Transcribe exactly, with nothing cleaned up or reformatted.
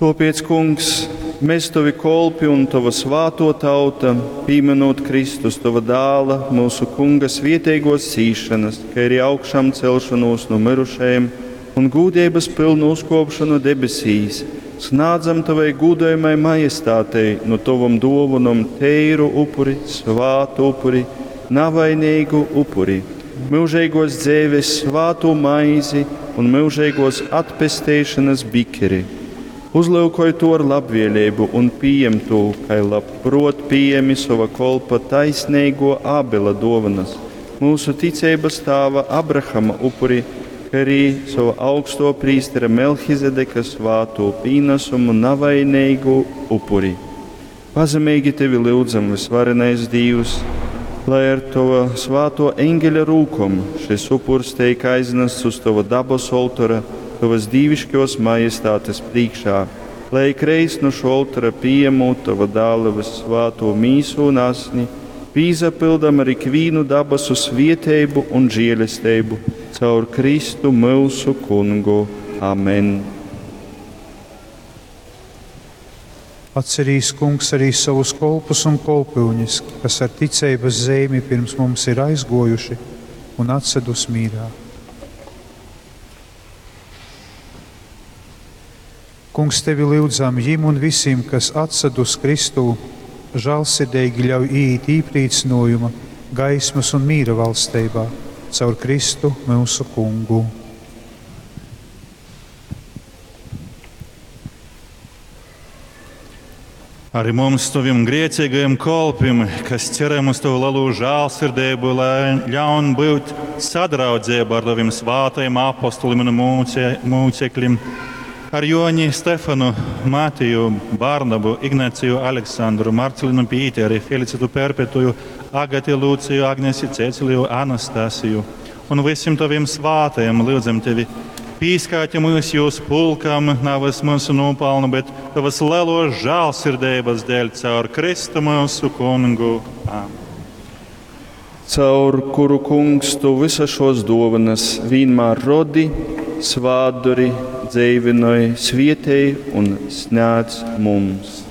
Tōpēc, Kungs, mēs tovi kolpi un tova svātō tauta, pīmynūt Kristus, tova dāla, mūsu Kunga svieteigōs cīšanas, kai arī augšamcelšonūs nu myrušajim un gūdeibas pylnu uzkōpšonu debesīs, snādzam tovai gūdojamai majestātei nu tovom dōvonom teiru upuri, svātu upuri, navaineigu upuri, myužeigōs dzeives svātū maizi un myužeigōs atpesteišanas bikeri. Uzlyukoj tū ar labvēlību un pījem tū, kai labprot pījemi sova kolpa taisneigo Ābela dōvanas, mūsu ticeibas tāva Abrahama upuri, kai arī sova augsto prīstera Melhizedeka svātū pīnasumu navaineigu upuri. Pazemeigi tevi lyudzam, vysvarenais Dīvs, lai ar tova svāto eņgeļa rūkom šis upurs teik aznasts uz tova dabas oltora, tovas dīviškos majestātes priekšā, lai ikreiz nu šo oltora pījemūt tova dāla vyssvātū mīsu un asni, pīsapildam ar ikvīnu dabasu svieteibu un žielesteibu caur Kristu mūsu kungu. Amen. Atcerīs, Kungs, arī savus kolpus un kolpyuņas, kas ar ticeibas zeimi pirms mums ir aizgojuši un atsedus mīrā. Kungs, tevi lyudzam jim un visiem, kas atsedus Kristū, žālsirdīgi ļauj iet īprīcinojuma, gaismas un mīra valsteibā, caur Kristu mūsu kungu. Arī mums, taviem grēcīgajiem kolpim, kas ceram uz tavu lielo žēlsirdību, lai ļaun būt sadraudzībā ar taviem svātajiem apostoliem un mūce, mūcekļiem, ar Joni, Stefanu, Matiju, Barnabu, Ignaciju, Aleksandru, Marcelinu Pīteri, Felicitu Perpetuju, Agati Lūciju, Agnesi Ceciliju, Anastasiju un visiem taviem svātajiem lūdzam tevi. Pīskāti mūs jūs pulkam, navas mūsu nopelnu, bet tavas lielo žēlsirdības dēļ caur Kristu mūsu kungu. Amen. Caur kuru, Kungs, tu visas šos dovanas vienmēr rodi, svātdori, dzeivinoj, svietēji un snēdz mums.